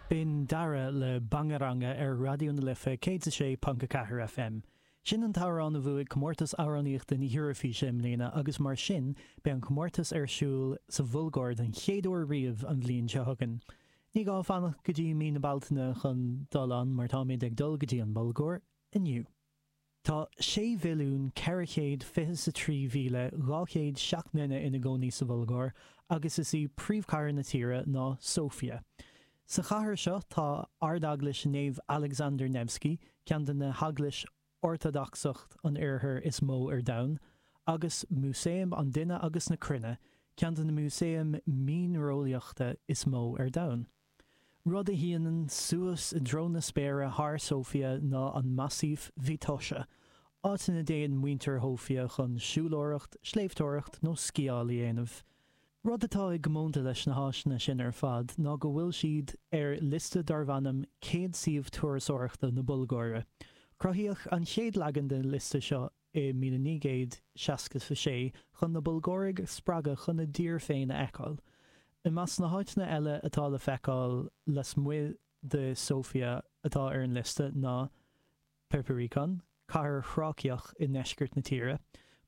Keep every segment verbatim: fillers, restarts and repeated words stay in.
B'in Dara le Bangaranga ar Raidió na Life céad a sé ponc a ceathair FM. Sin an t-amhrán a bhuaigh comórtas amhránaíochta na hEuroifíse i mbliana agus mar sin beidh an comórtas ar siúl sa Bhulgáir den chéad uair riamh an bhliain seo chugainn. Ní gá fanacht go dtí mí na Bealtaine chun dul ann mar táimid ag dul go dtí an Bhulgáir inniu. Tá sé mhilliún ceithre chéad fiche a trí mhíle dhá chéad seacht nduine ina gcónaí sa Bhulgáir agus is í príomhchathair na tíre ná Sóifia. Sa chathair seo tá Ardeaglais Naomh Alexander Nevsky, ceann de na heaglais Ortadacsach an Oirthir is mó ar domhan, agus Músaem an Duine agus na Cruinne, ceann de na músaeim mianreolaíochta is mó ar domhan. Rud a shíneann suas i dtreo na spéire thar Sóifia ná an Massif Vitosha, áit ina dtéann muintir Shóifia chun siúlóireacht, sléibhteoireacht nó sciáil a dhéanamh. Rud atá i gcomónta leis na háiteanna sin ar fad ná go bhfuil siad ar liosta darb ainm Céad Suíomh Turasóireachta na Bulgáire. Cruthaíodh an chéad leagan den liosta seo i míle naoi gcéad seasca a sé chun na Bulgáirigh a spreagadh chun a dtír féin a fheiceáil. I measc na háiteanna eile atá le feiceáil lasmuigh de Sóifia atá ar an liosta ná Perperikon, cathair Thráiceach i ndeisceart na tíre,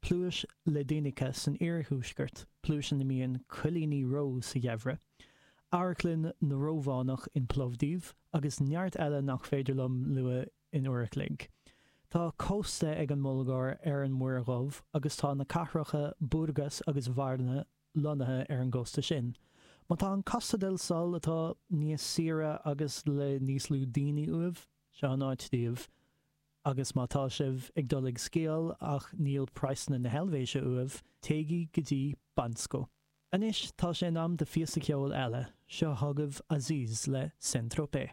Pluais Ledenica san iarthuaisceart, pluais ina mbíonn coillíní reo sa gheimhreadh, Amharclann na Rómhánach in Plovdiv, agus neart eile nach féidir liom lua in uair a chloig. Tá cósta ag an mBulgáir ar an Muir Dhubh agus tá na cathracha Burgas agus Varna lonnaithe ar an gcósta sin. Má tá an Costa del Sol atá níos saoire agus le níos lú daoine uaibh, seo an áit daoibh. Agus má tá sibh ag dul ag sciáil ach níl praghsanna na hEilvéise uaibh, téigí go dtí Bansko. Anois tá sé in am do phíosa ceoil eile, seo chugaibh Aziz le Saint Tropez.